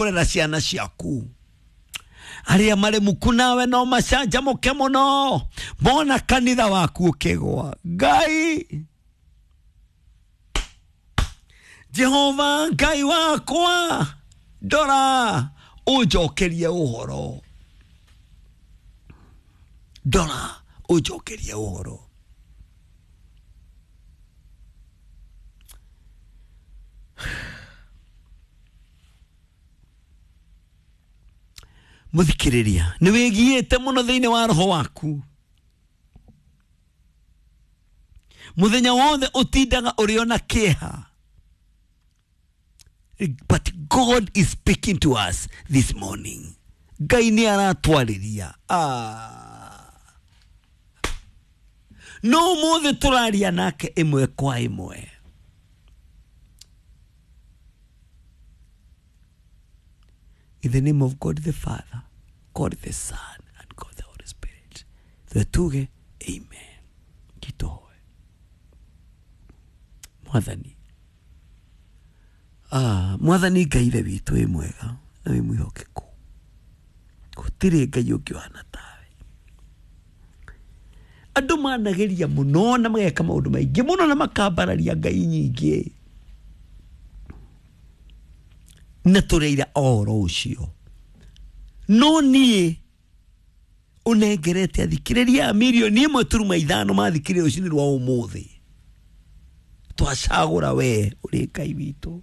Kũrera ciana ciaku arĩa marĩ muku nawe no macanjamũke mũno mona kanitha waku ũkĩgwa. Ngai Jehova Ngai wakwa, ndora ũnjokerie ũhoro, ndora ũnjokerie ũhoro. Muthikiriria nĩ wĩgiĩte mũno thĩinĩ wa roho waku, muthenya wothe ũtindaga ũrĩ ona kĩeha. But God is speaking to us this morning. Ngai nĩ aratwarĩria. No ũmũthĩ tũraria nake ĩmwe kwa ĩmwe. In the name of God the Father, God the Son, and God the Holy Spirit. Tuge amen. Kitohoe. Mwathani. Mwathani Ngai ithe witũ wĩ mwega na wĩ mwĩhokeku. Gũtirĩ Ngai ũngĩ ũhana tawe. Andũ manageria mũno na mageka maũndũ maingĩ mũno na makambararia Ngai nyingĩ. Na tũreira ũhoro ũcio. No niĩ ũnengerete athikĩrĩria a mirioni 1.5 mathikĩrĩria rũcinĩ rwa ũmũthĩ. Twacagũra we ũrĩ Ngai witũ.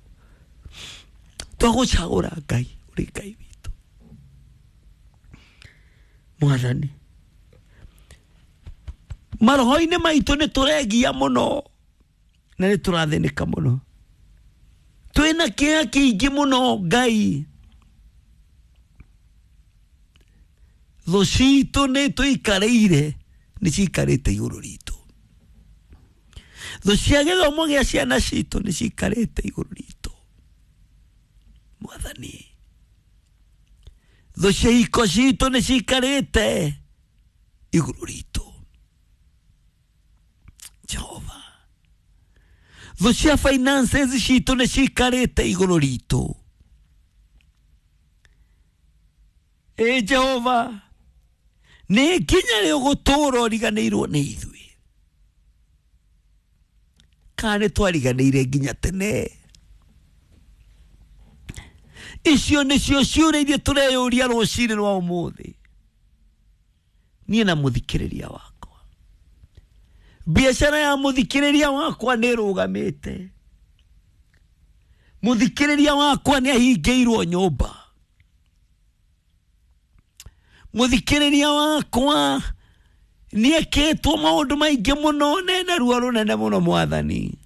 Twagũcagũra Ngai ũrĩ Ngai witũ. Mwathani, maroho-inĩ maitũ nĩ tũregia mũno na nĩ tũrathĩnĩka mũno. Twĩna kĩeha kĩingĩ mũno Ngai. Thũ citũ nĩ tũikarĩire, nĩ cikarĩte igũrũ ritũ. Thũ cia gĩthomo gĩa ciana citũ nĩ cikarĩte igũrũ ritũ. Mwathani, thũ cia iko citũ nĩ cikarĩte igũrũ ritũ. Jehova, thũ cia finances citũ nĩ cikarĩte igũrũ ritũ. Ĩ Jehova, nĩ nginya rĩ ũgũtũũra ũriganĩirwo nĩ ithuĩ? Kana nĩ twariganĩire nginya tene? Icio nĩcio ciũria iria tũreyũria rũcinĩ rwa ũmũthĩ. Niĩ na mũthikĩrĩria wakwa, biacara ya mũthikĩrĩria wakwa nĩ ĩrũgamĩte. Mũthikĩrĩria wakwa nĩ ahingĩirwo nyũmba. Mũthikĩrĩria wakwa nĩ ekĩtwo maũndũ maingĩ mũno na ena ruo rũnene mũno Mwathani.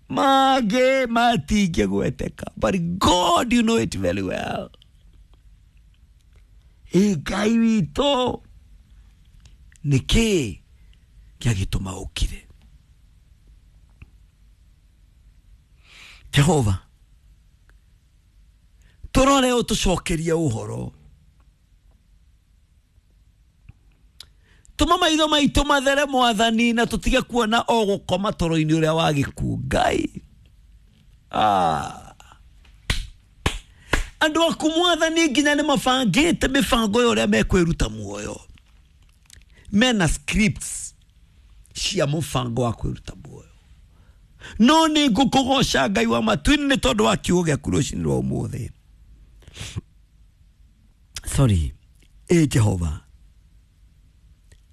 Mangĩ matingĩgweteka, but God, you know it very well. Ĩ Ngai witũ, nĩkĩ gĩagĩtũma ũkire? Jehova, tũrore ũtũcokerie ũhoro. Tũma maitho maitũ mathere Mwathani, na tũtige kuona o gũkoma toro-inĩ ũrĩa wa gĩkuũ. Ngai, andũ aku Mwathani nginya nĩ mabangĩte mĩbango ya ũrĩa mekwĩruta muoyo. Mena scripts cia mũbango wa kwĩruta muoyo. No nĩ ngũkũgoca Ngai wa matu-inĩ nĩ tondũ wa kiugo gĩaku rũcinĩ rwa ũmũthĩ. Sorry, ĩ Jehova,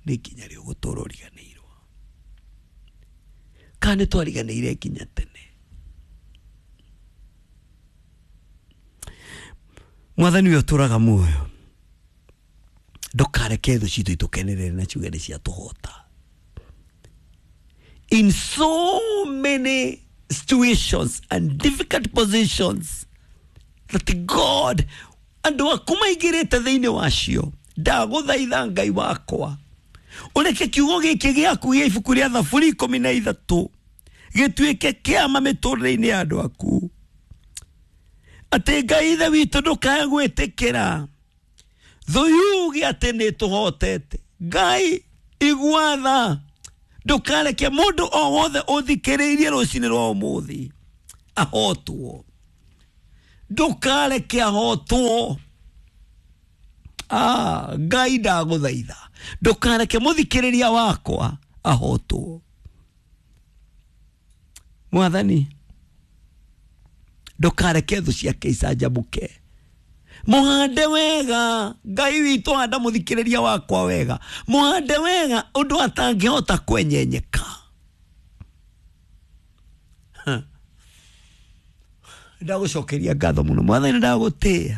nĩ nginya rĩ ũgũtũũra ũriganĩirwo? Kana nĩ twariganĩire nginya tene? Mwathani ũyũ ũtũũraga muoyo, ndũkareke thũ citũ itũkenerere na ciuge nĩ ciatũhota. In so many situations and difficult positions that God andũ aku maingĩrĩte thĩinĩ wacio, ndagũthaitha Ngai wakwa ũreke kiugo gĩkĩ gĩaku gĩa ibuku rĩa Thaburi 13 gĩtuĩke kĩama mĩtũrĩre-inĩ ya andũ aku, atĩ Ngai ithe witũ ndũkae gwĩtĩkĩra thũ yuge atĩ nĩ tũhotete. Ngai igua tha, ndũkareke mũndũ o wothe ũthikĩrĩirie rũcinĩ rwa ũmũthĩ ahotwo. Ndũkareke ahotwo. Ah, Ngai ndagũthaitha ndũkareke mũthikĩrĩria wakwa ahotwo. Mwathani, ndũkareke thũ ciake icanjamũke. Mũhande wega, Ngai witũ, handa mũthikĩrĩria wakwa wega, mũhande wega ũndũ atangĩhota kwenyenyeka. Ndagũcokeria ngatho mũno Mwathani, ndagũtĩĩa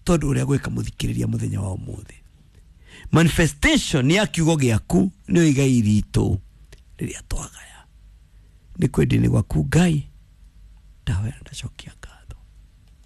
tondũ ũrĩa gwĩka mũthikĩrĩria mũthenya wa ũmũthĩ. Manifestation ya kiugo gĩaku nĩyo igai ritũ rĩrĩa twagaya. Nĩ kwendinĩ gwaku Ngai ndahoya, ndacokia.